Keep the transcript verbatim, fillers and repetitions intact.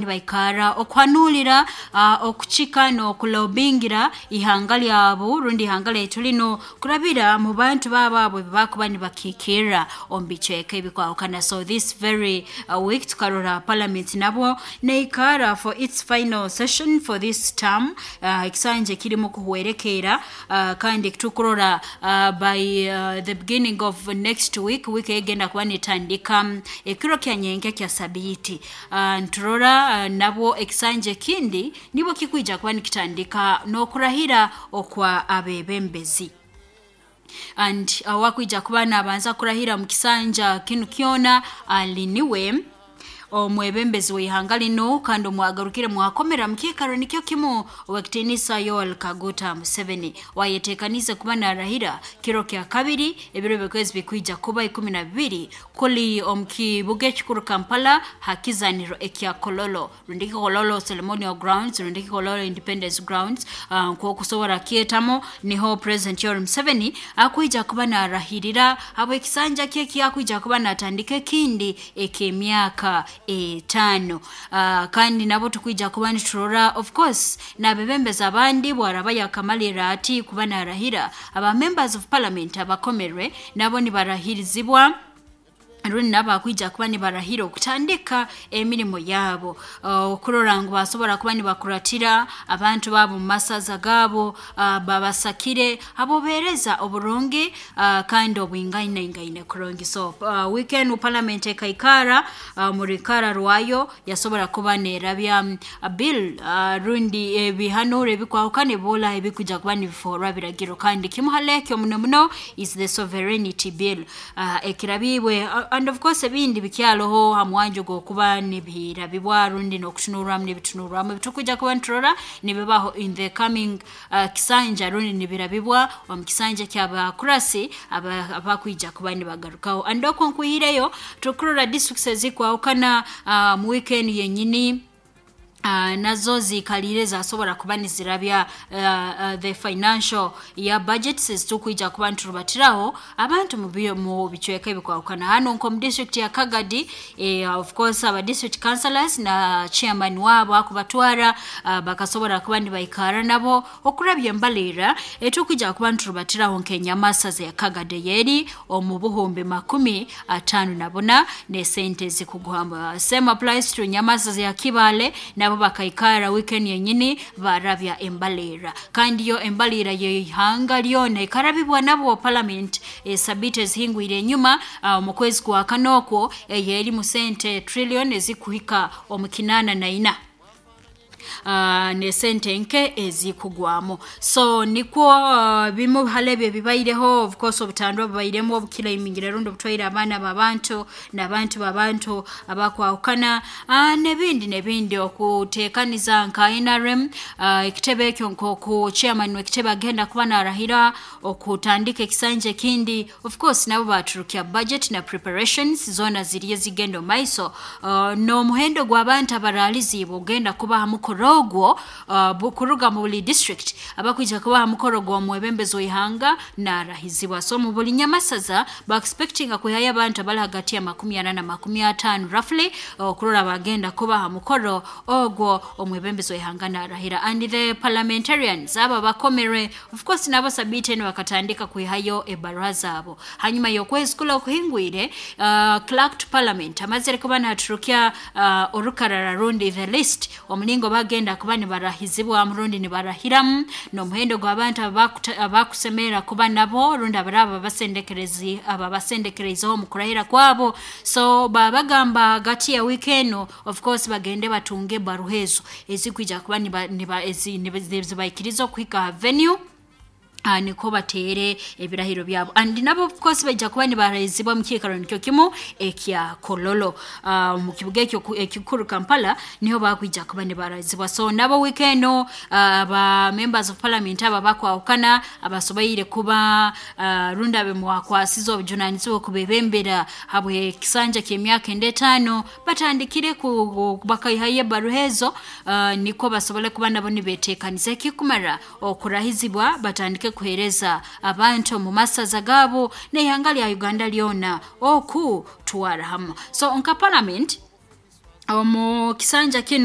Nibaikara okuhanulira, uh, okuchika n'okulobingira ihanga lyabo rundi ihanga lyaitu lino kurabira mu bantu babo abo bakuba nibakikirra omu bicweka ebikwahukana. So this very uh, week tukarora parliament nabwo neikara for its final session for this term, uh, ekisanja kirimu kuhwerekeera, uh, kandi tukurora uh, by uh, the beginning of next week, week egenda kuba netandika ekiro kya nyenke kya sabiiti, uh, nturora uh, nabwo ekisanja ekindi nibwo kikwija kuba nikitandika n'okurahira okwa abebembezi. And uh, wakwija kuba nabanza kurahira mu kisanja kinu kyona aliniwe omwebembezi w'ihanga lino kandi omwagarukire mwakomera mukikaro nikyo kimu, owekitinisa Yoweri Kaguta Museveni, wayetekanize kuba narahira kiro kya kabiri, ebiro byokwezi bikwija kuba ikumi na bibiri, kuli omukibuga ekikuru Kampala hakizaniro ekya Kololo, rundiki Kololo Ceremonial Grounds, rundiki Kololo Independence Grounds, uh, nkokusobora kyetamo, niho President Yoweri Museveni akwija kuba narahirira habwekisanja kye kyakwija kuba natandika ekindi eky'emyaka etaano. uh, kandi nabo tukwija kuba niturora of course nabebembeza abandi bwaraba yakamalira ati kuba narahira, aba members of parliament abakomerwe nabo nibarahirizibwa rundi nabo bakwija kuba nibarahira okutandika emirimu yabo, okurora ngu basobora kuba nibakuratira abantu babo mu masaza gabo, uh, babasakire abobereza oburungi, uh, kandi obwingainaingaine kurungi. So uh, weekend parliament ekaikara uh, murikara rwayo yasobora kuba nerabya uh, bill, uh, rundi ebihanuro ebikwahukana ebola ebikuja kuba nibiforwa biragiro, kandi kimuhalekyo muno muno is the sovereignty bill, uh, ekirabibwe, uh, and of course ebindi bikyaloho hamwanjo gwokuba nibirabibwa rundi n'okutunurwamu nibitunurwamu ebitukuja kuba niturora nibibaho in the coming uh, kisanja, rundi nibirabibwa omu kisanja ky'abakurasi abakwija kuba nibagarukaho. And okwo nkwihireyo tukurora districts ezikwahukana uh, mu weekend yenyini, Uh, nazo zikalire zasobora kuba nizirabya uh, uh, the financial ya budgets ezitukwija kuba niturubatiraho abantu mu bicweka ebikwahukana. Hano nko mu district ya Kagadi, eh, of course aba district councillors na chairman wabo akubatwara, uh, bakasobora kuba nibaikara nabo okurabya embalira etukwija kuba niturubatiraho nk'enyamasaza ya Kagadi yeri omu buhumbi makumi atano na buna ne sente zikuguhamba. Same applies to nyamasaza ya Kibale, nabo bakaikara weekend yenyini barabya embalira, kandi yo embalira yeihanga lyona ikarabibwa nabo parliament e, sabite ezihingwire enyuma, uh, mu kwezi kwa kanokwo eyeri mu sente trillion ezikuhika omu kinana na ina, Uh, ne sente nke ezikugwamo. So nikwo uh, bimu halebe bibaireho, of course obutandwa bubairemu obukila imingira rundo butwaire abaana babantu n'abantu babantu abakwahukana, uh, nebindi nebindi okutekaniza nka N R M, uh, ekitebe ekyo nkoku chairman w'ekitebe agenda kuba narahira okutandika ekisanja ekindi. Of course nabo baturukya budget na preparations zona ziriye zigenda maiso, uh, n'omuhendo gw'abantu abaralizibwa ogenda kuba hamukoro ogwo, uh, bukuruga mu buli district abakwija kuba mukoro gwa mwebembezo ihanga narahizibwa. So mu buli nyamasaza ba expecting akuhaya abantu abali hagati ya makumi ana na makumi atano roughly, okurora bagenda kuba mukoro ogwo omwebembezo ihanga narahira. And the parliamentarians aba bakomere of course nabo sabite bakatandika kuihayo ebarua zabo. Hanyuma yokwezi kula okuhingwire, uh, clerk to parliament amazire kuba naturukia uh, orukarara rundi the list omulingo bagenda kuba nibarahizibwa murundi nibarahiramu n'omuhendo gw'abantu abakusemera kuba nabo rundi abaraba basendekerezi aba basendekerezaho mu kurahira kwabo. So babagamba hagati ya weekend of course bagende batunge baruhezo ezikwija kuba niba, niba, ezi, nibaikiriza okuhika venue, Uh, niko batere ebirahiro byabo. And nabo of course bajja kuba nibarahizibwa mu kiikaro nikyo kimu ekya Kololo, uh, mu kibuga ekyo ekikuru Kampala niho bakwija kuba nibarahizibwa. So nabo weekend uh, ba members of parliament aba bakwahukana abasobaire kuba uh, runda be mwakwasiza obujunanizibwa kubebembera habwe kisanja ky'emyaka endetaano batandikire ku bakaihaye baruhezo, uh, niko basobole kuba nabo nibetekaniza ekikumara okurahizibwa batandike kuhereza abantu mu masaza gabo n'ihanga lya Uganda lyona oku twara hamwe. So nka parliament omu kisanja kino.